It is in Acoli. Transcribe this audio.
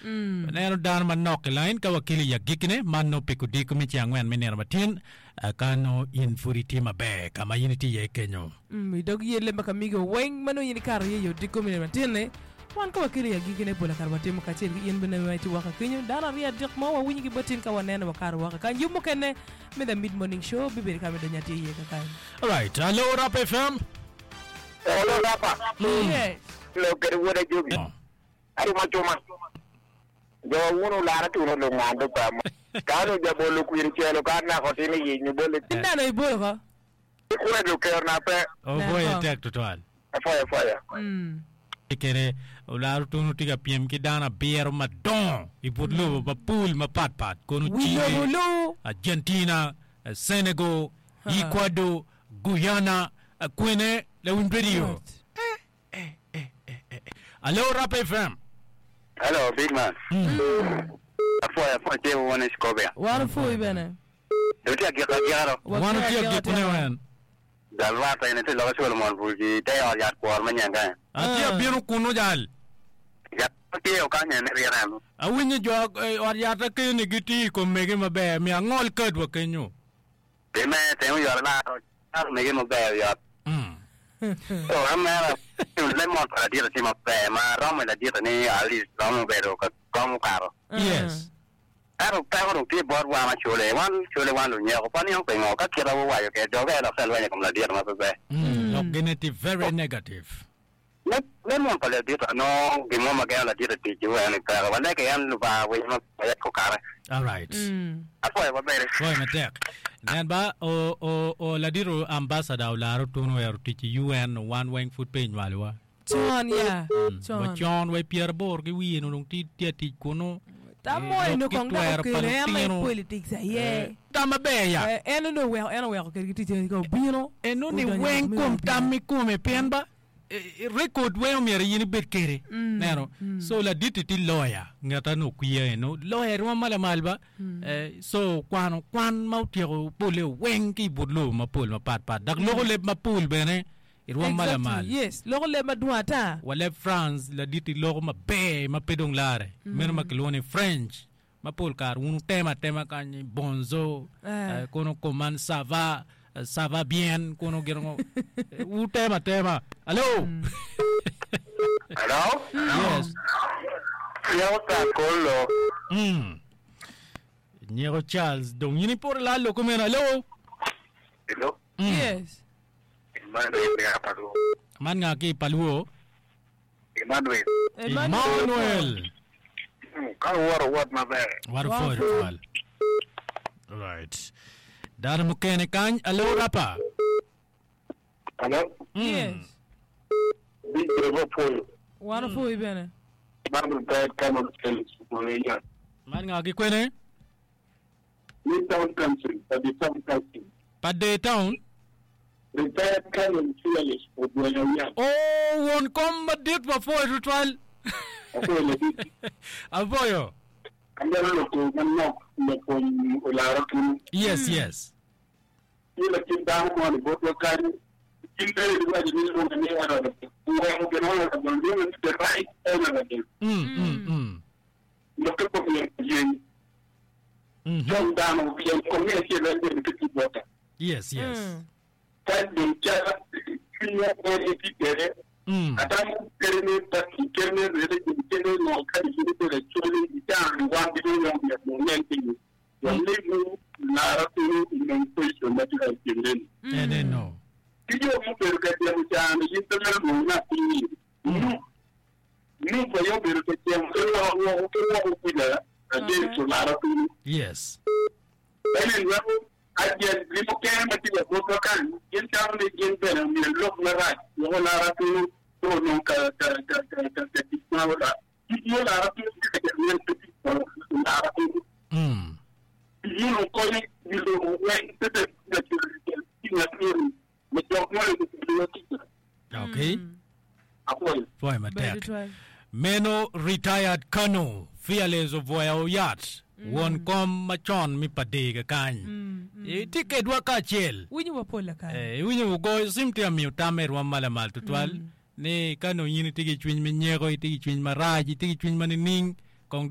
Waneno dano manok i lain ka wakelo i agikkine, man nongo pi kodiko me ceng angwen me nino matin, ka nongo in pud itye maber ka ma in itye iye kenyo. I dog yelle ma kamigo weng ma nongo in ikato iye i odiko me nino matin-ni, wan ka wakelo i agikkine pol kare watimo kacel ki in bene ma itye woko kenyo. Dano aryo adek mo wawinyo ki bot in ka waneno wakato woko kany. Yub mukene me The Mid Morning Show bibedo ka me donyo atir iye kakany. Alright, alo Rap FM. Alo Rapa. Yes. Lok kede wod ajobi. Arumo cuma. Jo wun olara tuno lungan do pa mo. Ka onongo jabolo kwir ocelo ka nako tin i nyo bole. In dano ibolo ko. Ikwedo ker na pe. Opwoye tek tutwal. Apwoyo apwoya. Kede olara tuno tye ka pyem ki dano abiro madongo i but lobo mapol mapat pat kono Wi lobo Chile, lu. Argentina, Senegal, Ecuador, Guyana, kwene lawiny radio. Alo Rap FM. Hello, big man. Apwoyo apwoyo tye wun i Scovia. Wan opwoyi bene. Dong tye agiko agika do. Wan otye agikone wen. Jal rwate eni tye loka Solomon pul ki te ot yat kwor me nyen kany. Atye abino kunu jal. Yat ma tye okany eni ryeko eno. Awinyo jo ot yat akeni gitiyo i kom mege maber miyo angol kadwa kenyo. Pi me teng oyot alaro calo mege maber oyot. So an mera lemon pa ladit tye maber ma romo i ladit ni at least romo bedo ka gom okato. Yes. Ento peko dong tye bot wan acole, wan cole wan lunyeko pe waniang pingo ka kita wuwaco kede doge dok te lweny i kom ladit ma pe ber. Lok gine tye very negative. Lemon pa ladit anongo gin mo ma gengo ladit i tic wek ni peke. Walege en Lubanga winyo ma wek okare. Alright. Apwoyo wabedi. Pwoyo matek. Nen ba o o o ladit o ambassador olaro tun owero tic i UN wan weng pud pe inywalowa. Con ya, con. Wa con wa i pyeraboro ki wiye onongo dong tye atic kunu. Tam mo eni Lok ki kong dok twero pa okelo en aye lutino. politics aye. Tam maber ya. Eh, en onongo oweko en oweko kwedgi tic eni ka obino. Eno ni odonyo weng me kom obino. tam i kome pien ba record weng omyero in ibed kede neno so laditi tye lawyer ngat eno okwiya eno lawyer rwom ma lamal ba so okwano kwan ma otyeko pole weng ki i but lobo mapol mapat pat dok loko leb mapol bene i rwom ma lamal. Exactly, yes. Loko leb madwong ata. Wa leb France laditi loko maber ma pe dong lare meno ma kilwongo ni French ma pol kare wun wutemo atema kany ni bonzo Eh. kono koman ça va ça va bien kono gin ngo wutemo atema alo Hello? yes Nyeko Charles Kollo. mm. Nyeko Charles dong in iporo lal loko meno alo Hello? mm. Yes. Emmanuel me Apalwo. Man nga ki i Palwo? Emmanuel. Emmanuel. Ka wuwoto wot maber. Wat opwoyo tutwal. Right. Dano mukene kany, alo rapa. Alo. Yes. Big Bravo opwoyo. Wan opwoyi bene. Man retired Colonel Felix Okoya. Man nga ki kwene? New Town Council, Padi Town Council. Pade Town. Retired Colonel Fearless Ogwenya Yam. Oh, won kom madit wapwoyo tutwal. Apwoyo ladit. Apwoyo. Amito loko manok lok kom olara kunu. Yes, yes. Tye lakit dano moni botwa kany, gin bene giwaco ni lwonge ni Honorable. Oweko gin Honorable, lwonge ni the right Honorable. Mm, mm, mm. Lokke pe myero oyeny cong dano pien kong me acel en bene pe tye bota. Yes, yes. Ka dong ca cwinywa en etye kwede, atamo kene pati, kene religion, kene ngo kadi in ibedo acholi i caa-ni wan ducu weng myero wanen piny walimu lara kunu inong position ma tye ka timre-ni. Eneno. Ki jo mubedo ka temo caa-ni gin pe mito lwongo ni atir-ni. Nup aye obedo ka cemo ki lwoko woko ki woko kuca against olara kunu. Yes. Enen weko agent gi mukene ma tye ka botwa kany gin tamo ni gin bene omyero lok marac wek olara kunu pe onong ka ka ka ka ka ka tic ma olara tic ma olara kunu tye ka cito nen pe tic pa olara kunu. Mm. Tic munu konyo wi lobo weng pe bed ka cito ki ngat moni me jok moni gubedo wa ticca. Okay. Apwoyo. Pwoyo Ber matek. tutwal. Meno retired Colonel Fearless Obwoya Oyat, won kom macon me Padega kany. Itye kedwa kacel. Winyo wa pol lakany. Eh, iwinyo wugoyo cim tye ka miyo tam me rwom ma lamal tutwal ni ka nongo in itye ki cwiny me nyeko, itye ki cwiny marac, itye ki cwiny ma nining.